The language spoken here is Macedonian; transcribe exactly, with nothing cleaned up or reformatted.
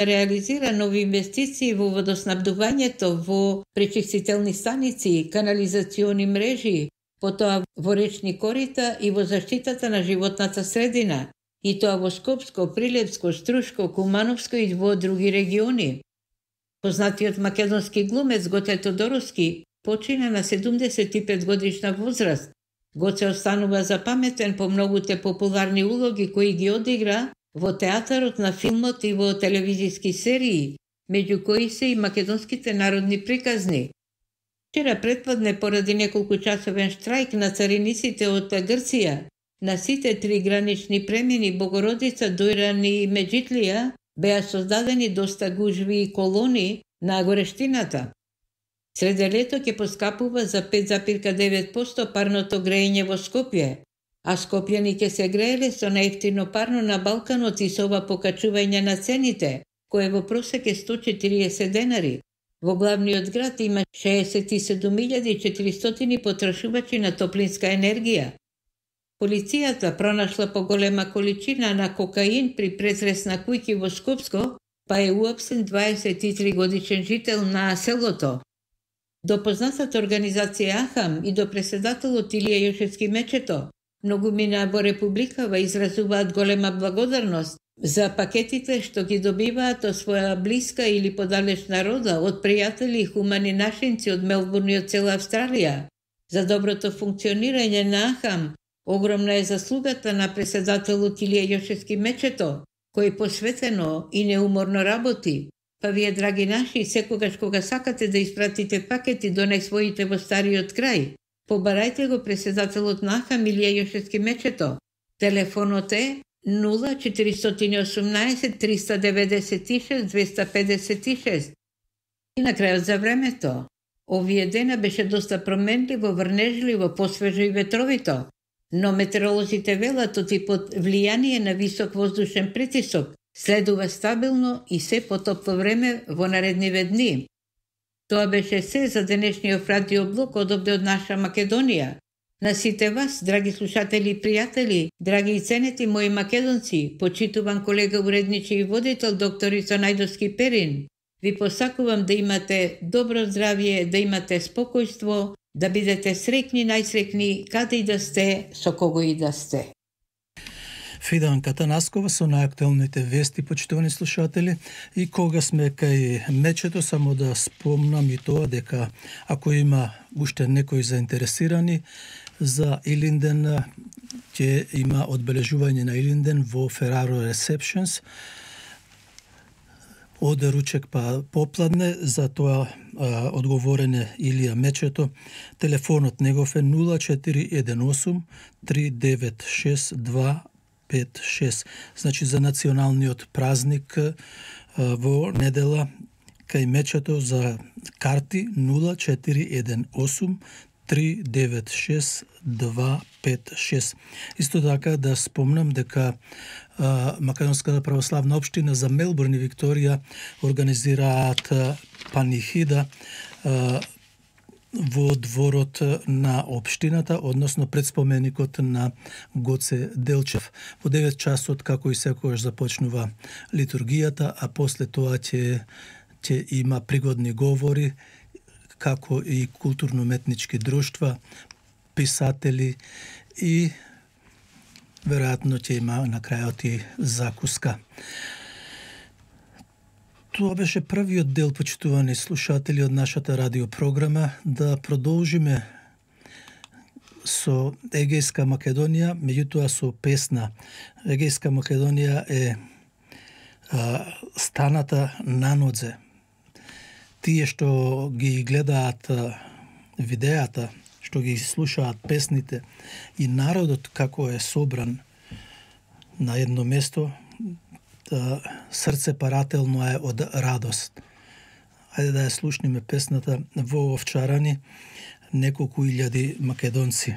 реализира нови инвестиции во водоснабдувањето, во пречистителни станици, канализациони мрежи, потоа во речни корита и во заштитата на животната средина, и тоа во Скопско, Прилепско, Струшко, Кумановско и во други региони. Познатиот македонски глумец Гоце Тодоровски почина на седумдесет и пет годишна возраст. Гоце останува запаметен по многуте популарни улоги кои ги одигра во театарот, на филмот и во телевизиски серии, меѓу кои се и македонските народни приказни. Вчера претпладне, поради неколку часовен штрајк на цариниците од Грција, на сите три гранични премини Богородица, Дојран и Меджитлија беа создадени доста гужви и колони на горештината. Среде лето ќе поскапува за пет запирка девет проценти парното грејење во Скопје, а скопјани ќе се грееле со најевтино парно на Балканот и со ова покачување на цените, кое во просек е сто четириесет денари. Во главниот град има шеесет и седум илјади и четиристотини потрошувачи на топлинска енергија. Полицијата пронашла поголема количина на кокаин при претрес на куќи во Скопско, па е уапсен дваесет и три годишен жител на селото. До познатата организација Ахам и до преседателот Илија Јошевски Мечето, многумина во Републикава изразуваат голема благодарност за пакетите што ги добиваат од своја блиска или подалечна рода, од пријатели и хумани нашинци од Мелбурн и од цела Австралија. За доброто функционирање на Ахам огромна е заслугата на преседателот Илија Јошевски Мечето, кој посветено и неуморно работи. Па вие, драги наши, секогаш кога сакате да испратите пакети до најсвоите во стариот крај, побарајте го преседателот на Ахам Илија Јошевски Мечето. Телефонот е нула четиристотини и осумнаесет триста деветдесет и шест двеста педесет и шест. И на крајот за времето. Овие дена беше доста променливо, врнежливо, посвежо и ветровито, но метеоролозите велат оти под влијание на висок воздушен притисок следува стабилно и се потопло време во наредниве дни. Тоа беше се за денешниот радиоблог одовде од наша Македонија. На сите вас, драги слушатели и пријатели, драги и ценети мои македонци, почитуван колега уредничи и водител докторица Најдовски Перин, ви посакувам да имате добро здравје, да имате спокојство, да бидете среќни, најсреќни, каде и да сте, со кого и да сте. Фиданка Танаскова со најактуелните вести, почитувани слушатели. И кога сме кај Мечето, само да спомнам и тоа дека ако има уште некои заинтересирани за Илинден, ќе има одбележување на Илинден во Ferraro Receptions од ручек па попладне. За тоа а, одговорене Илија Мечето. Телефонот негов е нула четири еден осум три девет шест два пет шест. Значи за националниот празник а, во недела кај Мечето за карти нула четири еден осум три девет шест два пет шест. Исто така да спомнам дека а, Македонската православна општина за Мелбурн и Викторија организираат а, панихида а, во дворот на општината, односно пред споменикот на Гоце Делчев. Во девет часот, како и секогаш, започнува литургијата, а после тоа ќе ќе има пригодни говори, како и културно-уметнички друштва, писатели и веројатно ќе има на крајот и закуска. Тоа беше првиот дел, почитувани слушатели, од нашата радиопрограма. Да продолжиме со Егејска Македонија, меѓутоа со песна. Егејска Македонија е а, станата на нодзе. Тие што ги гледаат а, видеата, што ги слушаат песните и народот како е собран на едно место, да, срце парателно е од радост. Ајде да ја слушнеме песната Во овчарани, неколку илјади македонци.